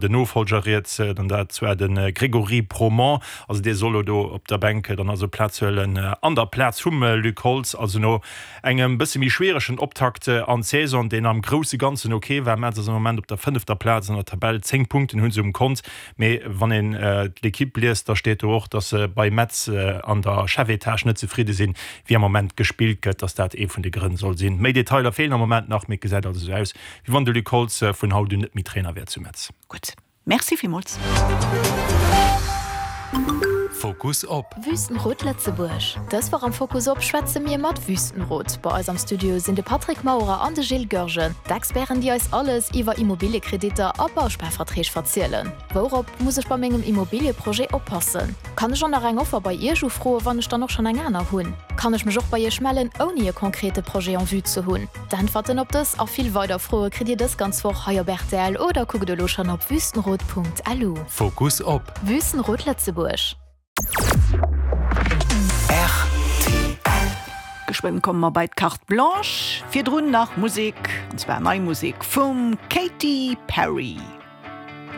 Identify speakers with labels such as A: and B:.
A: Den Nofollger riets, dann dat zwar de Grégory Promont, also dee soll elo do op der Bänk dann also Plaz huelen an der Plaz vum Luc Holtz. Also no engem bësse méi schwieregen Optakt an d'Saison, deen am grousse Ganzen ok war. Metz ass am Moment op der fënnefter Plaz an der Tabell, 10 Punkten hu se um Kont. Mee wann een d'Lequipe liest, da steet do och, datt se bei Metz an der Chefetage net zefridde sinn, wéi am Moment gespillt gëtt, datt dat ee vun de Grënn soll sinn. Méi Detailer feelen am Moment nach, mee et gesäit also esou aus, Wéi wann de Luc Holtz vun haut un net méi Trainer wär zu Metz.
B: Gutt, Merci villmools.
C: Fokus op.
D: Wüstenrot Lëtzebuerg. Dës Woch am Fokus op schwätze mir mat Wüstenrot. Bei eis am Studio sinn de Patrick Maurer an de Gilles Goergen, d'Experten déi eis alles iwwer Immobiliekreditter a Bausparverträg verzielen. Wourop muss ech bei mengem Immobilieprojet oppassen? Kann ech och nach eng Offer bei Iech ufroen, wann ech dann och schonn eng aner hunn? Kann ech mech och bei Iech mellen, ouni e konkrete Projet en vue ze hunn? D'Äntwerten op dës a vill weider Froe kritt Dir dës ganz Woch hei op rtl oder kuckt elo schonn op wüstenrot.lu.
C: Fokus op.
D: Wüstenrot Lëtzebuerg.
B: Rtl. Geschwënn komme mer bei d'Carte Blanche. Virdrun nach Musek, an zwar nei Musek vum Katy Perry.